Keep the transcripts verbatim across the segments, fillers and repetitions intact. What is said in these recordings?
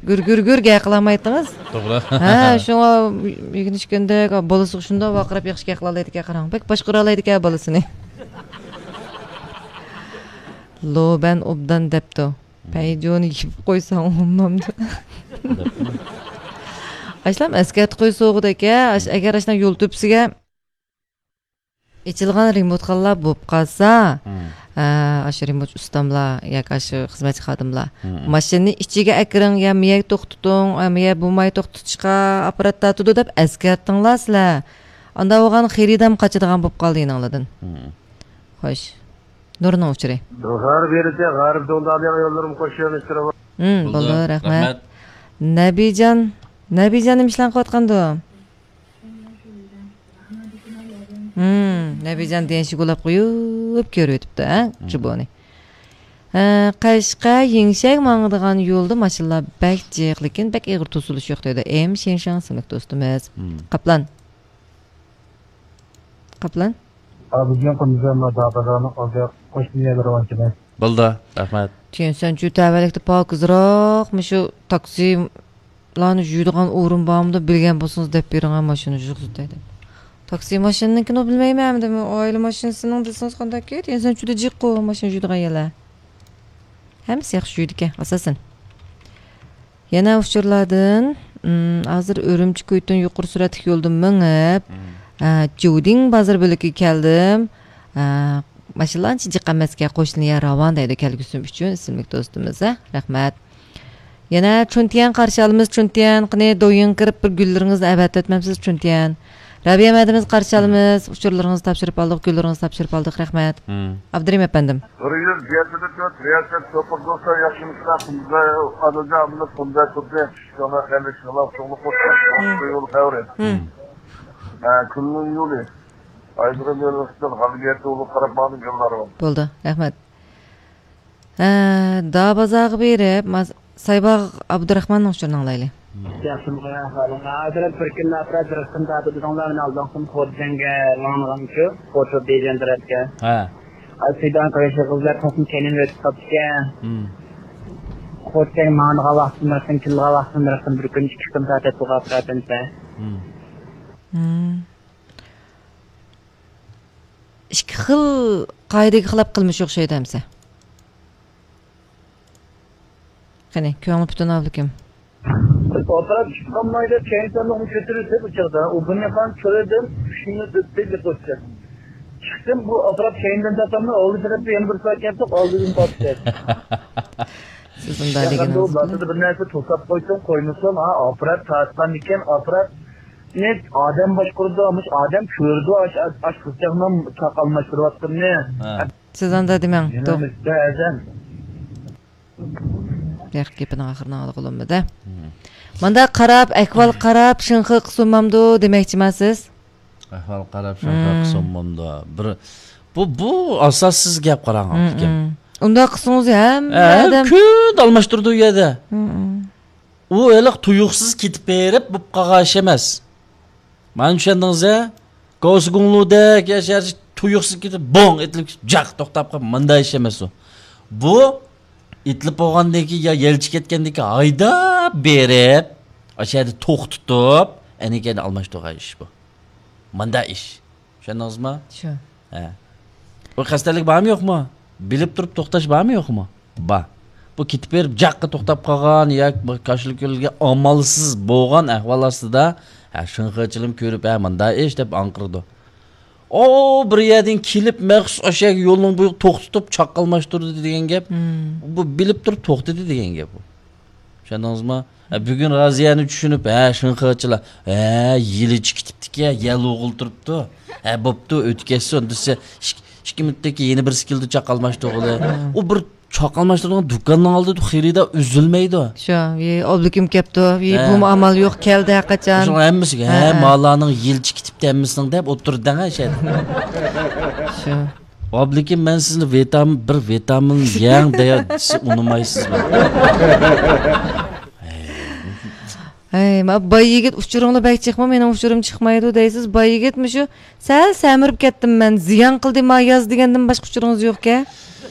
گۈر گۈر گۈر گەپ قىلالمايتتىڭىز. توغرا. ھە، شۇڭا ئۆگىنىشكەندەك، بالىسىغا شۇنداق ۋارقىراپ ياخشى گەپ قىلالايدىكەن، قاراڭ. بەك باشقۇرالايدىكەن بالىسىنى. لوبەن ئوبدان دەپتۇ. پەيجۇنى يېپىپ قويساڭ بولمامدۇ؟ ئاشلام ئەسكەرتىپ قويسا بولغۇدەك-ە، ئاش-، ئەگەر ئاشۇنداق يول تۆپىسىگە ئېچىلغان رېمونتخانىلار بولۇپ قالسا، ھە، ئاشۇ رېمونت ئۇستاملار ياكى ئاشۇ خىزمەتچى خادىملار، ماشىنىنى ئىچىگە ئەكىرىڭ، يا مىيەك توختىتىڭ، يا مىيە بولماي توختىتىشقا ئاپپارات تارتىدۇ دەپ ئەسكەرتىڭلار سىلەر. ئاندا بولغان خېرىدام قاچىدىغان بولۇپ قالدى يېنىڭلاردىن. خوش. نۇرنىڭ ئۇچۇرى. غەرب يېرىچە، غەرب دۇنيادا يوللىرىم قوشۇلۇشتۇرۇپ. ھىم، بولدى، رەھمەت. نەبىجان، نەبىجان نېمە ئىشلارنى قىلىۋاتقاندۇ؟ ھىم، نەبىجان دېگەن شۇ گۇلاپ قويۇپ كۆرۈۋېتىپتۇ، ھە، جۇبونى. ھە، قەشقەر يېڭشەك ماڭىدىغان يولدا ماشىنىلار بەك جىق، لېكىن بەك ئېغىر توسۇلۇش يوق دەيدۇ. ئېم شېڭشاڭ ئىسىملىك دوستىمىز. قاپلان. قاپلان. ئابىدىن قۇندۇزەم دابازارنىڭ ئالدى قوشنا يەرلىرى ئانچە ئەمەس. بولدى، رەھمەت. تيەنشەنچۈ تەۋەلىكتە پاكىزراق، مۇشۇ تاكسىلارنى يۇيىدىغان ئورۇن بارمىدۇ، بىلگەن بولسىڭىز دەپ بېرىڭە، ماشىنا يۇيۇقسىتاي دەپ. تاكسى ماشىنىنىڭكىنى بىلمەيمەن ئەمدى، ئائىلە ماشىنىسىنىڭ دېسىڭىز قانداككى؟ تيەنشەنچۈدە جىققۇ ماشىنا يۇيىدىغان يەرلەر. ھەممىسى ياخشى يۇيىدىكەن، ئاساسەن. يەنە ئۇچۇرلاردىن، ئىم، ھازىر ئۈرۈمچى كۇيتۇن يۇقىرى سۈرئەتلىك يولدا مېڭىپ، ئە، جۇدىڭ بازار بۆلىكىگە كەلدىم. ئە، ماشىنىلار ئانچە جىق ئەمەسكەن، قوشنا يەر راۋان دەيدۇ كەلگۈسىم ئۈچۈن ئىسىملىك دوستىمىز، ھە؟ رەھمەت. يەنە چۈنتيەن قارشى ئالىمىز، چۈنتيەن. قېنى، دويىڭ كىرىپ بىر گۈللىرىڭىزنى ئەۋەتىۋەتمەمسىز، چۈنتيەن؟ رەبىيە مەدىمىز قارشى ئالىمىز، ئۇچۇرلىرىڭىزنى تاپشۇرۇپ ئالدۇق، گۈللىرىڭىزنى تاپشۇرۇپ ئالدۇق، رەھمەت. ئابدۇرېھىم ئەپەندىم. بىر يۈز يەتتە تۆت، رىياسەت سوپۇر دوستلار ياخشىمىسىلەر؟ تۇنجى ئادىلجان ئابدۇللا تۇنجى تۇردى. شۇڭا خەيرلىك شۇڭلار چوڭلۇق بولسۇن. يول خەۋىرى. ھە، كۈننىڭ يولى. ئايدىغان يولىدىن غەلىبىيەتتە ئۇلۇغ قاراپ ماڭدىم يوللارغا. بولدى، رەھمەت. ھە، دابازارغا بېرىپ، ماس-، سايباغ ئابدۇراخماننىڭ ئۇچۇرىنى ئاڭلايلى. ياخشىمۇ ئەھۋالىڭلار؟ ھازىر بىر كۈنلا ئاپرات بىر قىسىم تارتىدىغانلار مېنى ئالدىڭقىم خوجەنگە ماڭغانچۇ، خوجا بېجەن تەرەپكە. ھە. ئاي سىدان قىلىشى قىزلار قىسمى كەينىمدىن ئۆتۈپ قاپتىكەن. خوجەنگە ماڭىدىغان ۋاقتىم بىر قىسىم، كېلىدىغان ۋاقتىم بىر قىسىم، بىر كۈن ئىككى قىسىم تارتىدىغان ئاپراتىمسە. ئىككى خىل قائىدىگە خىلاپ قىلمىش ئوخشايدۇ ئەمسە. قېنى، كۆڭلى پۈتۈن ئابلىكىم. ئاپپارات چىقالمايدۇ، كەينىدىن كۆتۈرۈلسە بۇ چاغدا. ئۇ بۇنى قان كۆرىدىن، شۇنى دېدى قوشتى. چىقتىم، بۇ ئاپپارات كەينىدىن تارتامدۇ، ئالدى تەرەپتە يەنە بىر سائەت كەپتۇ، ئالدىدىن تارتتى. سىز ئۇنداق دېگىنىڭىز. بىر نەرسە توساپ قويسۇن، قويمىسۇن، ھا، ئاپپارات تارتقاندىكىن ئاپپاراتنى ئادەم باشقۇرىدۇ، مۇش ئادەم كۆرىدۇ، ئاش، ئاش، ئاش قىزچاقنىڭ چاقالماشتۇرۇۋاتقىنىنى. ھە. سىز ئانداق دېمەڭ. يەنە توغ-، بەزەن. بۇياق گېپىنىڭ ئاخىرىنى ئاڭلىغىلى بولمىدى. مم. ماندا قاراپ، ئەھۋال قاراپ، شىنخې قىسۇنمامدۇ دېمەكچىما سىز؟ ئەھۋال قاراپ، شىنخې قىسۇنمامدۇ؟ بىر، بۇ، بۇ ئاساسسىز گەپ، قاراڭ، ئاپىكىم. ئۇنداق قىلسىڭىز ھەممە ئادەم كۈندە ئالماشتۇرىدۇ ئۇ يەردە. ئۇ ھېلىقى تۇيۇقسىز كېتىپ بېرىپ بولۇپ قالغان ئىش ئەمەس. مانا چۈشەندىڭىز ھە؟ گاۋسىگۇڭلۇدەك يا شەھەر تۇيۇقسىز كېتىپ، بوڭ ئېتىلىپ، جاق توختاپ قالىدۇ. مۇنداق ئىش ئەمەس ئۇ. بۇ ئېتىلىپ بولغاندىن كېيىن يا يەلچۈك كەتكەندىن كېيىن ھايداپ بېرىپ، ئاشۇ يەردە توختىتىپ، ئەنە كەينىدىن ئالماشتۇرغان ئىش بۇ. مۇنداق ئىش. چۈشەندىڭىزمۇ؟ شۇ. ھە. بۇ قەستەنلىك بارمۇ يوقمۇ؟ بىلىپ تۇرۇپ توختاش بارمۇ يوقمۇ؟ بار. بۇ كېتىپ بېرىپ جاققا توختاپ قالغان ياكى بىر كاشىلا كۆلگە ئامالسىز بولغان ئەھۋال ئاستىدا، ھە، شىنخېچىلىم كۆرۈپ، ھە، مۇنداق ئىش دەپ ئاڭقىرىدۇ. ئۇ بىر يەردىن كېلىپ مەخسۇس ئاشۇ يەرگە يولنىڭ بويىغا توختىتىپ چاققا ئالماشتۇردى دېگەن گەپ. بۇ بىلىپ تۇرۇپ توختىدى دېگەن گەپ بۇ. چۈشەندىڭىزمۇ؟ ھە، بۈگۈن رازىيەنى چۈشىنىپ، ھە، شىنخېچىلار، ھە، يىلىچ كېتىپتىكەن، يەل ئوغۇل تۇرۇپتۇ. ھە، بوپتۇ، ئۆتۈپ كەتسۇن دېسە، ئىك-، ئىككى مىنۇتتىن كېيىن يەنە بىرسى كېلىدۇ، چاقالماشتۇرغىلى. ئۇ بىر چاقالماشتۇرىدىغان دۇكاننىڭ ئالدىدا خېرىدار ئۈزۈلمەيدۇ. شۇ، ئى، ئابلىكىم كەپتۇ، ئى، بۇمۇ ئامال يوق، كەلدى ھەرقاچان. شۇنىڭ ھەممىسىگە، ھە، ھە، مالارنىڭ يىلىچ كېتىپتۇ ھەممىسىنىڭ دەپ ئولتۇرىدۇ دەڭ، شۇ. ئابلىكىم، مەن سىزنى ۋىتامىن، بىر ۋىتامىن يەڭ دېسە ئۇنىمايسىزمۇ؟ ھەي، ما باي يىگىت ئۇچۇرۇڭلار بەك چىقما، مېنىڭ ئۇچۇرۇم چىقمايدۇ دەيسىز. باي يىگىت مۇشۇ سەل سەمرىپ كەتتىم مەن، زىيان قىلدى ما ياز دېگەندىن باشقا ئۇچۇرىڭىز يوقكەن.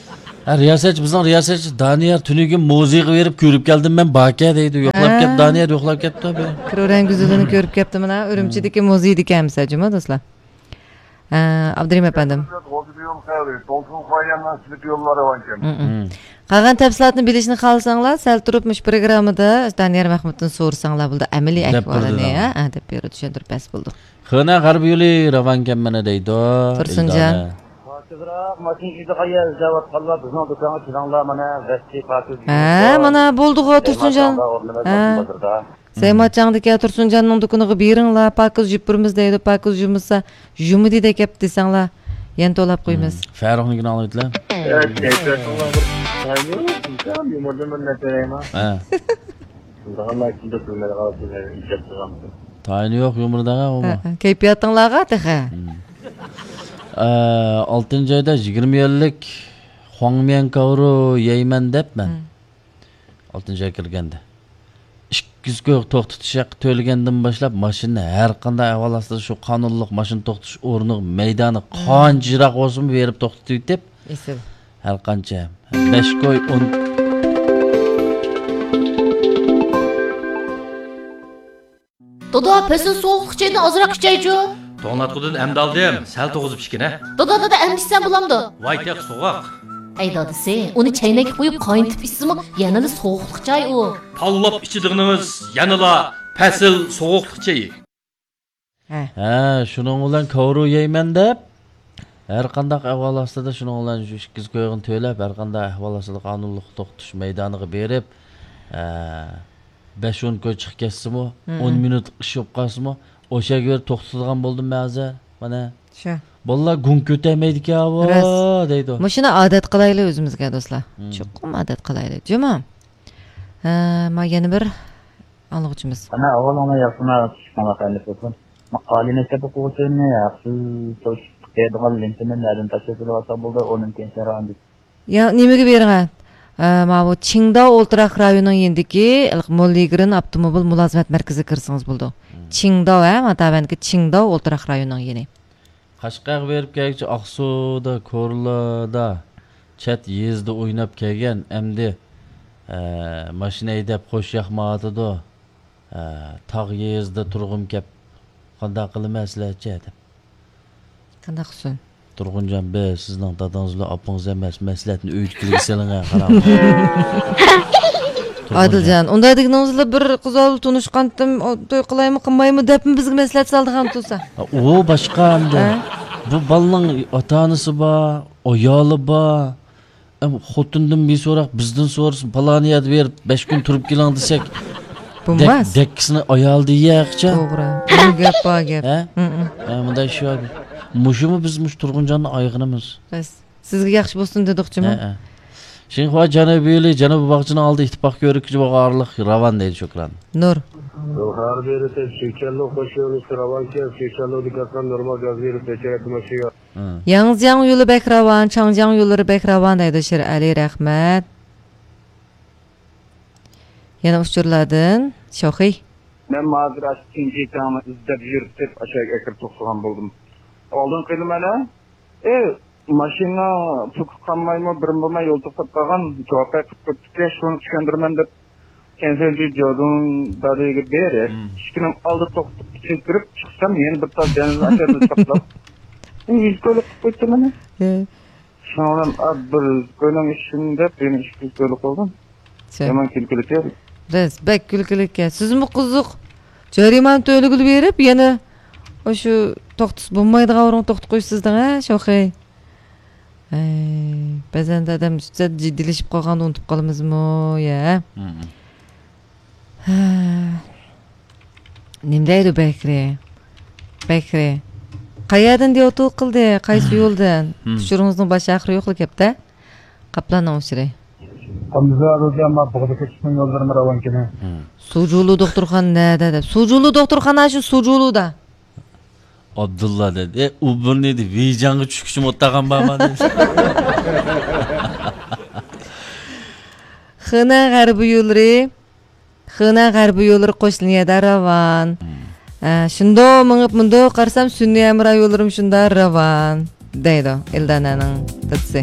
ھە، رىياسەتچى، بىزنىڭ رىياسەتچى دانىيار تۈنۈگۈن مۇزېيغا بېرىپ كۆرۈپ كەلدىم مەن، باركەن دەيدۇ. يوقلاپ كەپ، ھە. دانىيار يوقلاپ كەپتۇ بۇ. كرورەڭ گۈزىلىنى كۆرۈپ كەپتۇ مانا، ئۈرۈمچىدىكى مۇزېيدىكەن مىسا، جۇما دوستلار. ھە، ئابدۇرېھىم ئەپەندىم. مم، مم. قالغان تەپسىلاتنى بىلىشنى خالىساڭلار، سەل تۇرۇپ مۇشۇ پروگراممىدا دانىيار مەخمۇتتىن سورىساڭلار بولىدۇ، ئەمەلىي ئەھۋالىنى، ھە، ھە، دەپ بېرىدۇ، چۈشەندۈرۈپ بەرسە بولىدۇ. خېنە غەربىي يولى راۋانكەن مانا دەيدۇ، تۇرسۇنجان. ئىلدانە. پاكىزراق ماشىنا ئىزدەيدىغان يەر ئىزدەۋاتقانلار بىزنىڭ دۇكانغا كېلىڭلار، مانا، ۋەھشىي پاكىز ھە، يۇمۇر بار. مانا بولدىغۇ، تۇرسۇنجان. ھە. سەيماتجاڭدىكى تۇرسۇنجاننىڭ دۇكىنىغا بېرىڭلار، پاكىز يۇپۇرىمىز دەيدۇ، پاكىز يۇمىسا، يۇمىدى دەپ كەپتۇ دېسەڭلار، يەنە توۋلاپ قويىمىز. مم. فەرۇقنىڭكىنى ئاڭلاۋېتىلە. ھە، كەيپىياتىڭلار بىر تايىنى يوق، يۇمۇر دېمەن نەتەيما. ھە. شۇنداق ئاللا ئىچىدە كۆرمەيدىغان ئىجاد قىلغان. تايىنى يوق يۇمۇرداغا ئۇمۇ. ھە، ھە. كەيپىياتىڭلارغا تېخى. مم. ئە، ئالتىنچى ئايدا يىگىرمە يۈەنلىك خۇاڭميەن كاۋرۇ يەيمەن دەپ مەن. مم. ئالتىنچى ئاي كىرگەندە. ئىككى يۈز كوي توختىتىش ھەققى تۆلىگەندىن باشلاپ، ماشىنىنى ھەر قانداق ئەھۋال ئاستىدا شۇ قانۇنلۇق ماشىنا توختىتىش ئورنىغا، مەيدانى قانچە يىراق بولسىمۇ بېرىپ توختىتىۋېتىپ، ئېسىل. ھەر قانچە. بەش كوي، ئون. دادا، پەسىل سوغۇقلۇق چېيىنى ئازراق ئىچەيچۇ. توڭلاتقۇدىن ئەمدى ئالدىم، سەل توغۇزۇپ ئىچكىنە. دادا، دادا، ئەمدى ئىچسەم بولامدۇ؟ ۋاي تېخى سوغۇق. ئەي دادىسى، ئۇنى چەينەككە قويۇپ قاينىتىپ ئىچسىمۇ يەنىلا سوغۇقلۇق چاي ئۇ. تاللاپ ئىچىدىغىنىڭىز يەنىلا پەسىل سوغۇقلۇق چېيى. ھە. ھە، شۇنىڭ بىلەن كاۋرۇ يەيمەن دەپ، ھەر قانداق ئەھۋال ئاستىدا شۇنىڭ بىلەن شۇ ئىككى يۈز كويغىنى تۆلەپ، ھەر قانداق ئەھۋال ئاستىدا قانۇنلۇق توختىتىش مەيدانىغا بېرىپ، ئە، بەش ئون كوي چىقىپ كەتسىمۇ، مم. ئون مىنۇتلۇق ئىش بولۇپ قالسىمۇ، ئوشۇ يەرگە بېرىپ توختىتىدىغان بولدۇم مەن ھازىر. مانا. شۇ. بالىلار گۇڭ كۆتەرمەيدىكەن ئاۋۇ، راست. دەيدۇ. مۇشۇنى ئادەت قىلايلى ئۆزىمىزگە، دوستلار. مم. چوقۇم ئادەت قىلايلى. جۇمۇ. ھە، ما يەنە بىر ئاڭلىغۇچىمىز. ئانا، ئاۋۋال ئانا ياخشىما چۈشكەڭلار خەيرلىك بولسۇن. ما ئالىي مەكتەپ ئوقۇغۇچىلىرىنى ھەقسىز توشۇپ قېيىدىغان لېنتىنى نەدىن تاشلاپ بولۇۋالسا بولدى، ئۇنىڭ كەينىسىدىن راۋان دېسە. يا، نېمىگە بېرىڭە؟ ئە، ماۋۇ چىڭداۋ ئولتۇراق رايونىنىڭ يېنىدىكى مول يىگىرىن ئاپتوموبىل مۇلازىمەت مەركىزىگە كىرسىڭىز بولىدۇ. مم. چىڭداۋ، ھە، ما تەۋەندىكى چىڭداۋ ئولتۇراق رايونىنىڭ يېنى. قەشقەرگە بېرىپ كەلگۈچە ئاقسۇدا، كورلىدا، چەت يېزىدا ئويناپ كەلگەن، ئەمدى، ئە، ماشىنا ھەيدەپ خوش ياقمايۋاتىدۇ. ئە، تاغ يېزىدا تۇرغۇم كەپ، قانداق قىلىمەن سىلەرچە دەپ. قانداق قىلسۇن؟ تۇرغۇنجان بەگ، سىزنىڭ دادىڭىز بىلەن ئاپىڭىز ئەمەس، مەسلىھەتنى ئۆيدىكىلەرگە سېلىڭ، ھە، قاراڭ. ئادىلجان، ئۇنداق دېگىنىڭىزلا بىر قىز بىلەن تونۇشقانتىم، ئۇ توي قىلايمۇ، قىلمايمۇ دەپمۇ بىزگە مەسلىھەت سالىدىغان تۇرسا. ئۇ باشقا ئەمدى. ھە؟ بۇ بالىنىڭ ئاتا-ئانىسى بار، ئايالى بار. ئەم، خوتۇندىن بىر سوراق، بىزدىن سورىسۇن، پالان يەردە بېرىپ بەش كۈن تۇرۇپ كېلىڭ دېسەك، بولماس. دەك-، دەككىسىنى ئايالى يەيەر ئىچە. توغرا. بۇ گەپ بار گەپ. ھە؟ ھە، مۇنداق ئىش بار. مۇشۇمۇ بىز مۇشۇ تۇرغۇنجاننى ئايىغىنىمىز. بەس. سىزگە ياخشى بولسۇن دېدۇقچىمۇ؟ ھە، ھە. شىنخۇا جەنۇبىي يولى، جەنۇبىي باغچىنىڭ ئالدى ئىتتىپاق كۆۋرۈكىگە بارغانلىق راۋان دەيدۇ شۇكران. نۇر. ھەر بېرىپ سۈيچەنلۇ قوش يولى راۋانكەن، سۈيچەنلۇدىكى ئاسان نورمال گاز بېرىپ بېچەرەتتە ماشىنا. ھە. ياڭزياڭ يولى بەك راۋان، چاڭجياڭ يوللىرى بەك راۋان دەيدۇ شېرئەلى، رەھمەت. يەنە ئۇچۇرلاردىن شوخى. مەن ھازىر ئاشۇ تىنجى تاڭنى ئىزدەپ يۈرۈپ ئاشۇ يەرگە كىرىپ توختىغان بولدۇم. ئالدىن قىلىمەن ھە؟ ئى، ماشىنا پۈكۈپ قالمايمۇ، بىرىم بولماي يول توختاپ قالغان، جاۋاب قىلىپ قويۇپتۇكەن، شۇنى چۈشەندۈرىمەن دەپ كەنسەنجى جودۇڭ دادىگە بېرىپ، مم. ئىشىكنىڭ ئالدىدا توختىتىپ، ئىچىگە كىرىپ چىقسام، يەنە بىر تال دېڭىزنىڭ ئاشاغىدا چاپلاپ، ئۇ يۈز كويلۇق قىلىپ قويۇپتۇ مېنى. ھە. شۇنىڭ بىلەن، ئا، بىر كوينىڭ ئىشىنى دەپ، يەنە ئىككى يۈز كويلۇق قىلدىم. شۇ. يامان كۈلكىلىك يا. راست، بەك كۈلكىلىك يا. سىزمۇ قىزىق. جەرىمانە تۆلىگىلى بېرىپ، يەنە ئاشۇ توختىسا بولمايدىغان ئورۇنغا توختىتىپ قويۇپسىز دەڭ، ھە، شوخى. ئەي، بەزەندە ئادەم سەل جىددىيلىشىپ قالغاندا ئۇنتۇپ قالىمىزمۇ، يا؟ مم. ھە. نېمە دەيدۇ بەكرى؟ بەكرى. قەيەردىن دېۋاتۇ قىلدى؟ قايسى يولدىن؟ مم. ئۇچۇرىڭىزنىڭ باش ئاخىرى يوقلا گەپتە. قاپلاننىڭ ئۇچۇرى. قاندىزار روزى ئەمما بۇغدا كۆچۈشنىڭ يوللىرىمۇ راۋانكىنى. مم. سۇجۇلۇ دوختۇرخانا نەدە دەپ. سۇجۇلۇ دوختۇرخانا شۇ سۇجۇلۇدا. ئابدۇللا دەيدۇ، ئە، ئۇ بۇرنى دەيدۇ، ۋېيجاڭغا چۈشكۈچىمۇ ئولتۇرغان بارما دەيدۇ. خېنەن غەربىي يوللىرى، خېنەن غەربىي يوللىرى قوش لىنىيەدە راۋان. مم. ئە، شۇنداق مېڭىپ مۇنداق قارىسام، سۈنئىي ھەمراھ يوللىرىمۇ شۇنداق راۋان، دەيدۇ ئىلدانەنىڭ دادىسى.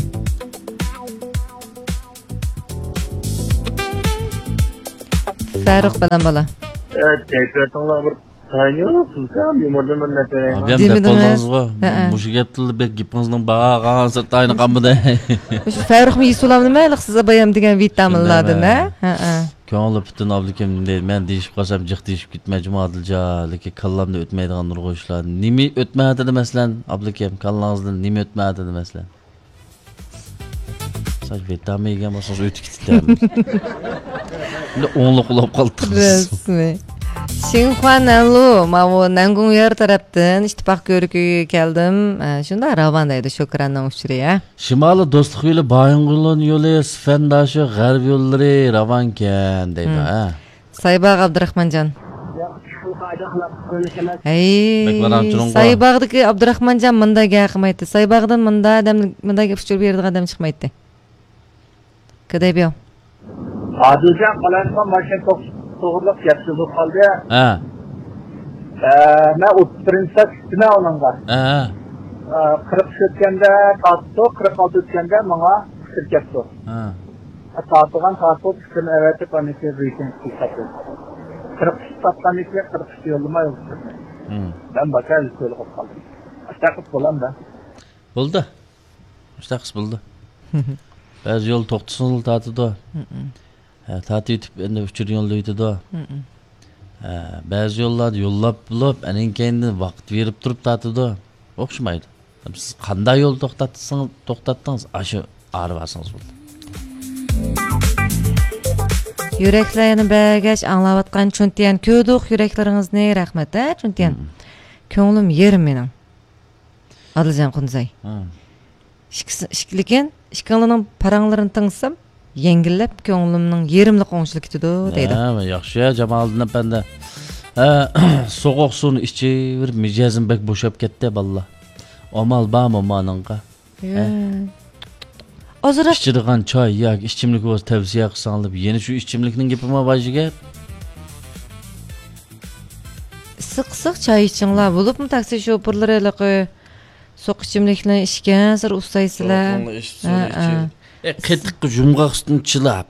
فەرۇق بىلەن بالا. ئە، كەيپىياتىڭلار بىر تايىنى يوق، سىزگە يۇمۇردىن بىر نەرسە بېرەيمۇ؟ ئابىيام دەپ دېمىدىڭىز. بولدىڭىزغۇ. ھەئە. مۇشۇ گەپتىلا بەك گېپىڭىزنىڭ باھا قالغانسېرى تايىنى قالمىدى. مۇشۇ فەرۇقمۇ يېسىۋالامدىمۇ ھېلىقى سىز ئابايام دېگەن ۋىتامىنلاردىن، ھە؟ شۇنداقمۇ؟ ھەئە. كۆڭلى پۈتۈن ئابلىكىم، مەن دېيىشىپ قالسام جىق دېيىشىپ كېتىمەن جۇمۇ ئادىلجان، لېكىن كاللامدا ئۆتمەيدىغان نۇرغۇن ئىشلار. نېمە ئۆتمەيۋاتىدۇ مەسىلەن، ئابلىكىم، كاللاڭىزدىن نېمە ئۆتمەيۋاتىدۇ مەسىلەن؟ سەن ۋىتامىن يېگەن بولسىڭىز ئۆتۈپ كېتىدۇ. بىر ئوڭلۇق بولۇپ قالدىڭىز. رەسمىي. شىنخۇا نەنلۇ، ماۋۇ نەنگۇڭيار تەرەپتىن ئىتتىپاق كۆرۈكىگە كەلدىم. ئە، شۇنداق راۋان دەيدۇ، شوكراننىڭ ئۇچۇرى، ھە؟ شىمالىي دوستلۇق يولى، بايىنغولىن يولى، سىفەنداشى، غەرب يوللىرى راۋانكەن دەيدۇ، ھە؟ سايباغ ئابدۇراخمانجان. ھەي، بەك ۋارام-چۇرۇڭغۇ. سايباغدىكى ئابدۇراخمانجان مۇنداق گەپ قىلمايتتى. سايباغدىن مۇنداق ئادەم، مۇنداق گەپ ئۇچۇر بېرىدىغان ئادەم چىقمايتتى. كېدەي بىيو. ئادىلجان، قالايمىقان ماشىنا توق-، توغرىلىق گەپ سۆز بولۇپ قالدى. ھە. ئە، مەن ئوتتۇز بىرىنچى سەپ چۈشتۈم ئۇنىڭغا. ھە. ئە، قىرىق ئۈچ ئۆتكەندە تارتتۇق، قىرىق ئالتە ئۆتكەندە ماڭا ئۇچۇر كەپتۇ. ھە. ئە، تارتىغان تارتىپ ئۈستىنى ئەۋەتىپ، ئاندىن كېيىن رېيتىنگ قىلىپ ساتتىم. قىرىق ئۈچ ساتقاندىن كېيىن قىرىق ئۈچ يوللىماي ئۇچۇرنى. ھىم. مەن باكا يۈز كويلۇق بولۇپ قالدىم. ئاشۇنداق قىلىپ بولامدا. بولدى. مۇشۇنداق قىلسا بولىدۇ. بەزى يول توختىسىڭىزلا تارتىدۇ. ھە، تارتىۋېتىپ، ئەندى ئۇچۇر يوللاۋېتىدۇ. ھە، بەزى يوللاردا يوللاپ بولۇپ، ئەنىڭ كەينىدىن ۋاقىت بېرىپ تۇرۇپ تارتىدۇ. ئوخشىمايدۇ. سىز قانداق يول توختاتسىڭىز، توختاتتىڭىز، ئاشۇ ئارا بارسىڭىز بولدى. يۈرەكلەر يەنە بەرگەچ ئاڭلاۋاتقان چۈنتيەن، كۆردۇق يۈرەكلىرىڭىزنى، رەھمەت، ھە، چۈنتيەن. كۆڭلۈم يېرىم مېنىڭ. ئادىلجان قۇنزاي. ھە. ئىككىسى، ئىككى، لېكىن ئىككىڭلارنىڭ پاراڭلىرىنى تىڭلىسام، يەڭگىللەپ كۆڭلۈمنىڭ يېرىملىقى ئوڭشىلىپ كېتىدۇ، دەيدۇ. ھە، ياخشى، جامالىدىن ئەپەندى. ھە، سوغۇق سۇنى ئىچىۋېرىپ، مىجەزىم بەك بوشاپ كەتتى، بالىلار. ئامال بارمۇ مانىڭغا؟ يا. ھە؟ ئازراق ئىچىدىغان چاي ياكى ئىچىملىك بولسا تەۋسىيە قىلساڭلار، يەنە شۇ ئىچىملىكنىڭ گېپىما بار يىگىت؟ ئىسسىق ئىسسىق چاي ئىچىڭلار، بولۇپمۇ تاكسى شوپۇرلىرى ھېلىقى سوغۇق ئىچىملىكنى ئىچكەنسېرى ئۇسسايسىلەر. سوغۇقنى ئىچ، سۇنى ھە، ئىچ. ھە. ئە، قېتىققا يۇمغاق سۈتنى چىلاپ،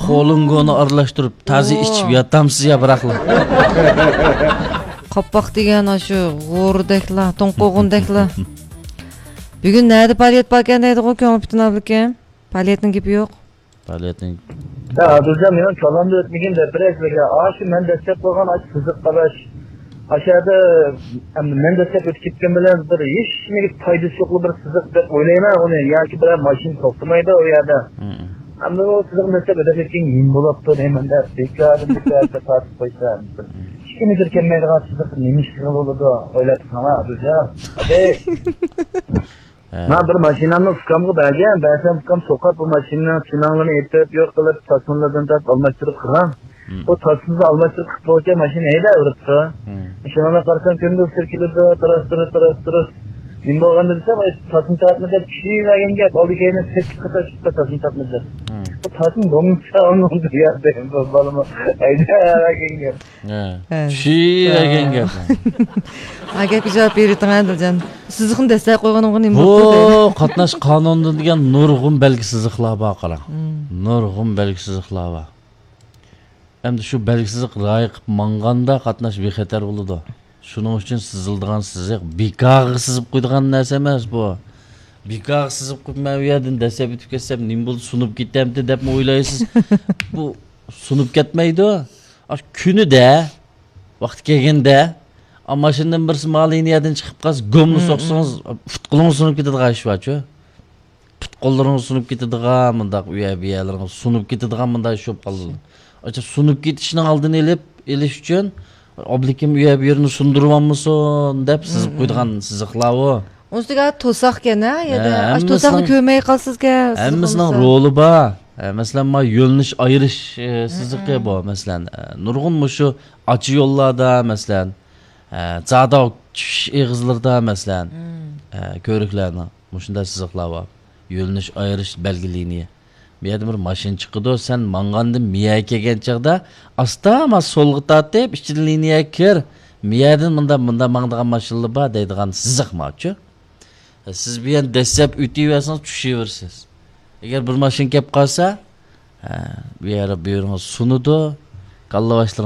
خولۇنگونى ئارىلاشتۇرۇپ، تازا ئىچىپ ياتامسىز يا بىراقلا. قاپاق دېگەن ئاشۇ غورىدەكلا، توڭقۇغۇندەكلا. بۈگۈن نەدە پائالىيەت باركەن دەيدىغۇ، كۆڭلى پۈتۈن ئابلىكىم. پائالىيەتنىڭ گېپى يوق. پائالىيەتنىڭ يا، ئادىلجان، مېنىڭ كاللامدا ئۆتمىگەن دەپ بېرەي سىلەرگە. ئاشۇ مەن دەسلەپ قويغان ئاشۇ سىزىق قاراش. ئاشۇ يەردە، ئەمدى مەن دەسلەپ ئۆتۈپ كەتكەن بىلەن بىر ھېچنېمىگە پايدىسى يوقلا بىر سىزىق دەپ ئويلايمەن ئۇنى. ياكى بىرەر ماشىنا توختىمايدۇ ئۇ يەردە. مم. ئەمدى ئۇ سىزىق دەسلەپ ئۆتۈپ كەتكەن نېمە بولاپتۇ دەيمەن دەپ، بىكاردىن بىكارغا تارتىپ قويسا. مم. ئىككى مېتىر كەلمەيدىغان سىزىق نېمە ئىشقا بولىدۇ؟ ئويلاپ بېقىڭلار، ئادىلجان. ھە. مەن بىر ماشىنامنى ئۇكامغا بەرگەن، بەرسەم ئۇكام سوقاپ بۇ ماشىنىنىڭ چىناڭلىرىنى ئېتىپ، يوق قىلىپ، تاسمىلىرىنى تارتىپ ئالماشتۇرۇپ قىلغان. مم. بۇ تاسمىسىنى ئالماشتۇرۇپ قىلىپ بولغۇچە ماشىنا ھەيدەۋېرىپتۇ. مم. ماشىنامنى قارىسام كۈندە ئۇچۇر كېلىدۇ، تۇرۇس، تۇرۇس، تۇرۇس، تۇرۇس. نېمە بولغاندۇ دېسەم، ئاي، تاسما تارتما دەپ چۈشۈرۈۋەرگەن گەپ، ئالدى كەينى سەككىز قېتىم چۈشۈپتۇ تاسما تارتما دەپ. مم. بۇ تاسما بولمىسا ئۇنىڭ دېگەن بالىمۇ ھەيدەۋەرگەن گەپ. ھە. ھە. چۈشۈرۈۋەرگەن گەپ. ھە، گەپكە جاۋاب بېرىۋېتىڭ، ئادىلجان. سىزىقنى دەسسەپ قويغىنىمغا نېمە بوپتۇ دەيدۇ. بۇ قاتناش قانۇنىدا دېگەن نۇرغۇن بەلگە سىزىقلار بار، قاراڭ. مم. نۇرغۇن بەلگە سىزىقلار بار. ئەمدى شۇ بەلگە سىزىق رىئايە قىلىپ ماڭغاندا قاتناش بىخەتەر بولىدۇ. شۇنىڭ ئۈچۈن سىزىلىدىغان سىزىق بىكارغا سىزىپ قويىدىغان نەرسە ئەمەس بۇ. بىكارغا سىزىپ قويۇپ، مەن ئۇ يەردىن دەسسەپ ئۆتۈپ كەتسەم، نېمە بولدى، سۇنۇپ كېتەمتى دەپمۇ ئويلايسىز. بۇ سۇنۇپ كەتمەيدۇ. ئاشۇ كۈنىدە، ۋاقتى كەلگەندە، ئا، ماشىنىدىن بىرسى ما لىنىيەدىن چىقىپ قالسا، گوملا مم، سوقسىڭىز، مم. پۇت-قولىڭىز سۇنۇپ كېتىدىغان ئىش بارچۇ. پۇت-قوللىرىڭىز سۇنۇپ كېتىدىغان، مۇنداق ئۇ يەر، بۇ يەرلىرىڭىز سۇنۇپ كېتىدىغان مۇنداق ئىش بولۇپ قالىدۇ. ئاشۇ سۇنۇپ كېتىشنىڭ ئالدىنى ئېلىپ، ئېلىش ئۈچۈن، ئابلىكىم ئۇ يەر، بۇ يېرىنى سۇندۇرۇۋالمىسۇن دەپ سىزىپ مم، مم. قويىدىغان سىزىقلار ئۇ. ئۇنىڭ ئۈستىگە توساق ئىكەن، ھە؟ يەردە ھە، ئاشۇ توساقنى ھەممىسىنىڭ، كۆرمەي قالسىزكەن، سىزىق ھەممىسىنىڭ بولمىسا. رولى بار. ھە، مەسىلەن، ما يۆنىلىش ئايرىش، ئە، سىزىقى ھە، ھە. بۇ، مەسىلەن، ئە، نۇرغۇن مۇشۇ ئاچا يوللاردا، مەسىلەن، ئە، زاداۋ چۈشۈش ئېغىزلىرىدا، مەسىلەن، مم. ئە، كۆۋرۈكلەرنىڭ مۇشۇنداق سىزىقلار بار. يۆنىلىش ئايرىش بەلگە لىنىيە. بۇ يەردىن بىر ماشىنا چىقىدۇ، سەن ماڭغاندىن مىيەگە كەلگەن چاغدا ئاستا ئاستىغا سولغا تارتىپ، ئىچىدىن لىنىيەگە كىر. مىيەدىن مۇندا، مۇندا ماڭىدىغان ماشىنىلار بار دەيدىغان سىزىق ماچۇ. سىز بۇ يەردىن دەسسەپ ئۆتۈۋەرسىڭىز، چۈشۈۋېرىسىز. ئەگەر بىر ماشىنا كەپ قالسا، ھە، بۇ يەر، بۇ يېرىڭىز سۇنىدۇ. كاللا باشلىق